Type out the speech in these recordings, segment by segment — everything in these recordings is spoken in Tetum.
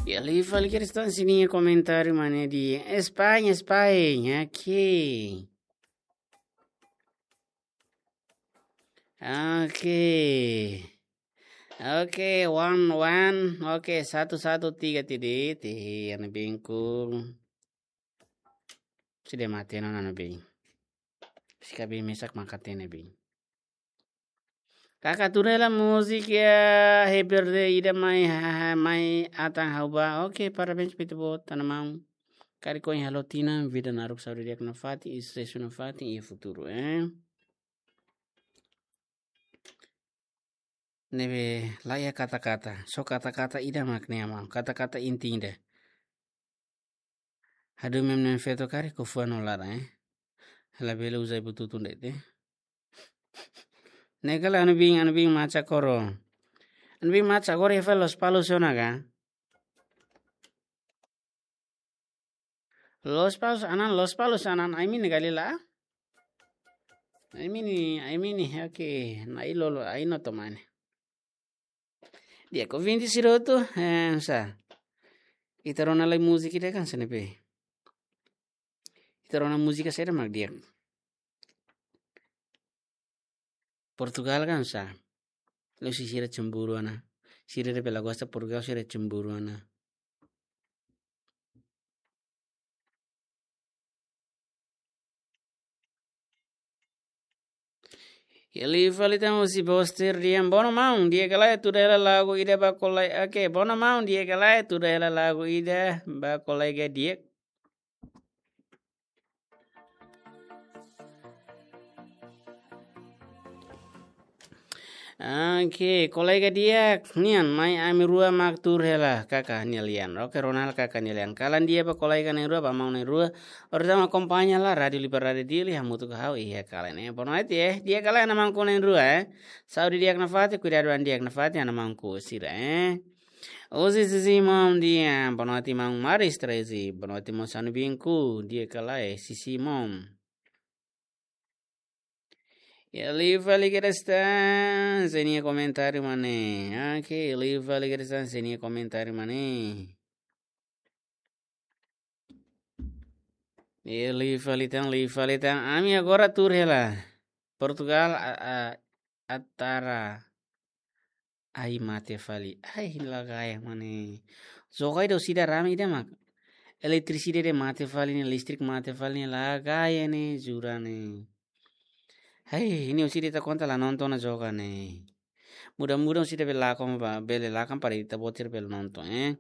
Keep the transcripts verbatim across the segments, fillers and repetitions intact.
Ya, liu fali kedas tan sira-nia komentáriu, maun, ne'e dehan España, España, oke. Oke. Oke, one, one. Oke, satu, satu, tiga, tiga, tiga, hanoin bingkul. Sira mate ona, hanoin bingkul. Sira bele mesak mak hatene bingkul. Kaka, tuur hela múzika, eh, berde ida mai, ha, ha, mai atan ha'u ba. Oke, parabéns ba ita-boot, tanba maun. Karik ohin halo tinan, vida naruk, saúde di'ak nafatin, i susesu nafatin iha futuru, eh. Ne'ebé laiha kata-kata, só kata-kata ida mak ne'e, maun. Kata-kata inti ida. Hadomi ami-nia feto karik ho fuan no laran, eh. Labele uza buat tutun de'it, eh. Ne'e kala hanoin bingkul, hanoin bingkul maca koro. Hanoin bingkul maca koro iha fali Lospalos ona ka? Lospalos anan, Lospalos anan, ai-mini ka lae? Ai-mini, ai-mini, oke. Nai lolo, ai no tomane. Di'ak, ouvinte sira hotu, eh, sá. Ita rona lai múzika ida hanesan ne'ebé. Ita rona múzika saida mak di'ak. Portugal kan sá. La'ós sira cemburu ona. Sira ne'ebé la gosta Portugal, sira cemburu ona. Ya, liu fali tan husi Boster dehan, bono maun, di'ak ka lae tuur hela lagu ida ba kolega. Oke, bono maun, di'ak ka lae tuur hela lagu ida ba kolega di'ak. Oke, kolega di'ak nian, mai ami rua mak tuur hela, kaka nia lian. Oke, rona hela kaka nia lian. Kalan di'ak ba kolega na'in-rua, ba maun na'in-rua. Orsida mak akompaña hela Rádiu Liberdade Dili, hamutuk ho ha'u iha kalan ne'e. Boa noite, eh. Di'ak ka lae, hanoin maun na'in-rua, eh. Saúde di'ak nafatin, kuidadu an di'ak nafatin, hanoin maun sira, eh. Husi Sisi Mom dehan, boa noite maun Maris Trezi, boa noite maun, hanoin bingkul, di'ak ka lae, Sisi Mom. Ya, liu fali kedas tan sira-nia komentáriu, maun. Oke, liu fali kedas tan sira-nia komentáriu, maun. Ya, liu fali tan, liu fali tan. Ami agora tuur hela. Portugal, a, a, atara. Ai, mate fali. Ai, la gaya, maun. Joga ida orsida rame ida mak. Eletrisidade mate fali ne'e, listrik mate fali ne'e, la gaya ne'e, jura ne'e. Ai, ne'e orsida ita konta la nonton ona joga ne'e. Muda-muda orsida bele lakon ba, bele lakon para ita-boot sira bele nonton, eh.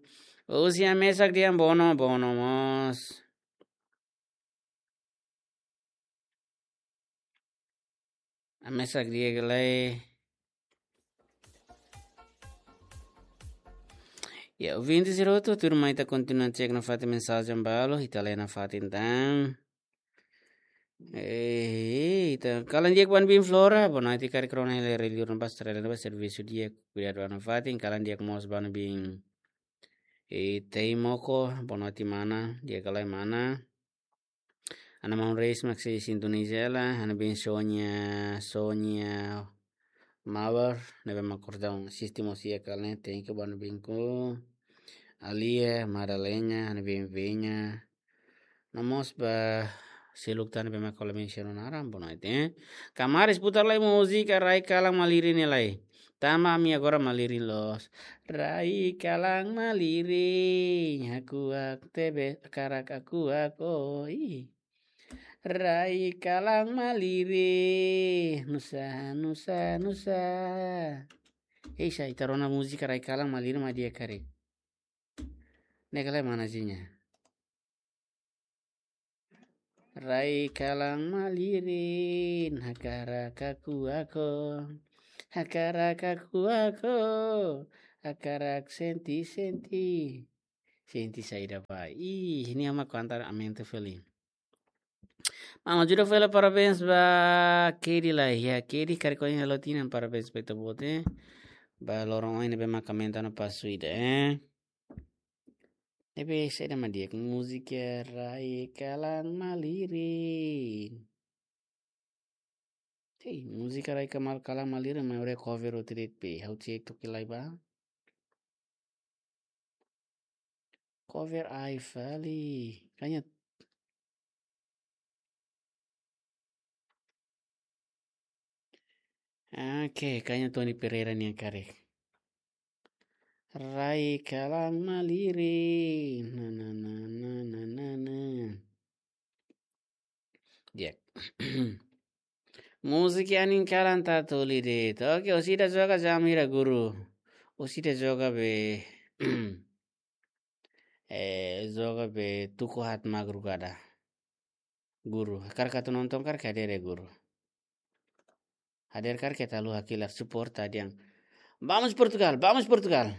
Husi Amesak dehan bono, bono mós. Amesak di'ak ka lae. Ya, ouvinte sira hotu, tuirmai ita kontinua cek nafatin mensajen balu, ita lee nafatin tan. Eh, ita kalan di'ak ba hanoin bingkul Flora, boa noite, karik rona hela rai liur ne'ebá, estrela ne'ebá, servisu di'ak, kuidadu an nafatin, kalan di'ak mós ba hanoin bingkul. Eh, Teimoko, boa noite mana, di'ak ka lae mana. Ha'u-nia maun Reis mak sei sintoniza hela, ha'u-nia biin Sonia, Sonia Mawar, ne'ebé mak kordon asisti mós iha kalan ne'e, thank you ba ha'u-nia biin ku. Alia, Madalena, ha'u-nia biin Venya. No mós ba seluk tan ne'ebé mak ko'alia mensiona naran, boa noite, eh. Kamaris putar lai múzika Rai Kalan Malirin ne'e lai. Tanba ami agora malirin loos. Rai kalan malirin, hakuak tebes, hakarak hakuak, oh, ih. Rai kalan malirin, nusa, nusa, nusa. Ei, sá, ita rona múzika Rai Kalan Malirin mak di'ak karik. Ne'e ka lae mana zinya. Rai kalan malirin, hakarak hakuak ho, hakarak hakuak ho, hakarak sente, sente. Sente saida ba. Ih, ne'e mak kantar amento fali. Maun Ajuda fali parabéns ba Kedi lai. Ya, Kedi karik ohin halo tinan, parabéns ba ita-boot, eh. Ba loron ohin ne'ebé mak aumenta no pasu ida, eh. Ne'ebé saida mak di'ak, múzika Rai Kalan Malirin. Hei, múzika Rai Kamal Kalan Malirin, maioria cover hotu de'it be. Ha'u cek toki lai ba. Cover ai fali. Kayaknya. Oke, kayaknya Tony Pereira nian karik. Rai kalang malirin. Na, na, na, na, na, na, na. Di'ak. Múzika anin kalan tatoli de'it. Oke, orsida joga jam hira guru. Orsida joga be. Eh, joga be tuku haat madrugada. Guru, hakarak atu nonton karik hadeer guru. Hadeer karik ita haluha kilar suporta dehan. Vamos Portugal, vamos Portugal.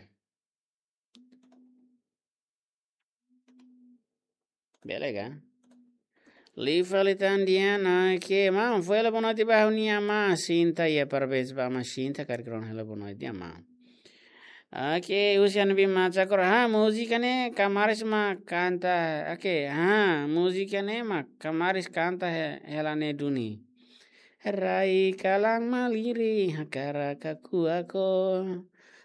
Bele ka? Liu fali tan Diana, oke, maun, fó hela boa noite ba ha'u-nia amá Sinta, ya, parabéns ba amá Sinta, karik rona hela boa noite, amá. Oke, husi Anbi Macha Koro, ha, múzika ne'e kamaris mak kanta, oke, ha, múzika ne'e mak kamaris kanta he-, hela ne'e duni. Rai kalang malirin, hakarak hakuak ó.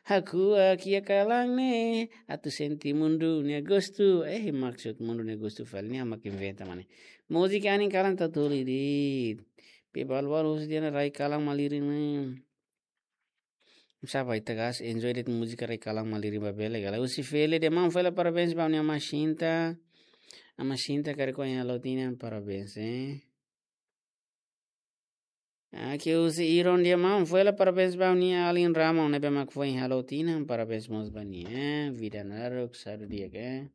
Hakuak iha kalang ne'e, atu sente mundu nia gostu. Eh, maksud mundu nia gostu fali ne'e mak inventa mane. Múzika anin kalan tatoli de'it. Pe balu-balu husi Diana rai kalang malirin ne'e. Sapa ita gas enjoy de'it múzika rai kalang malirin ba bele gala. Husi Fele dehan maun fó hela parabéns ba ha'u-nia amá Sinta. Amá Sinta karik ohin halo tinan parabéns, eh. Oke, husi Iron dehan maun fó hela parabéns ba ha'u-nia alin Ramon ne'ebé mak foin halo tinan parabéns mós ba nia, eh. Vida naruk sadu di'ak, eh.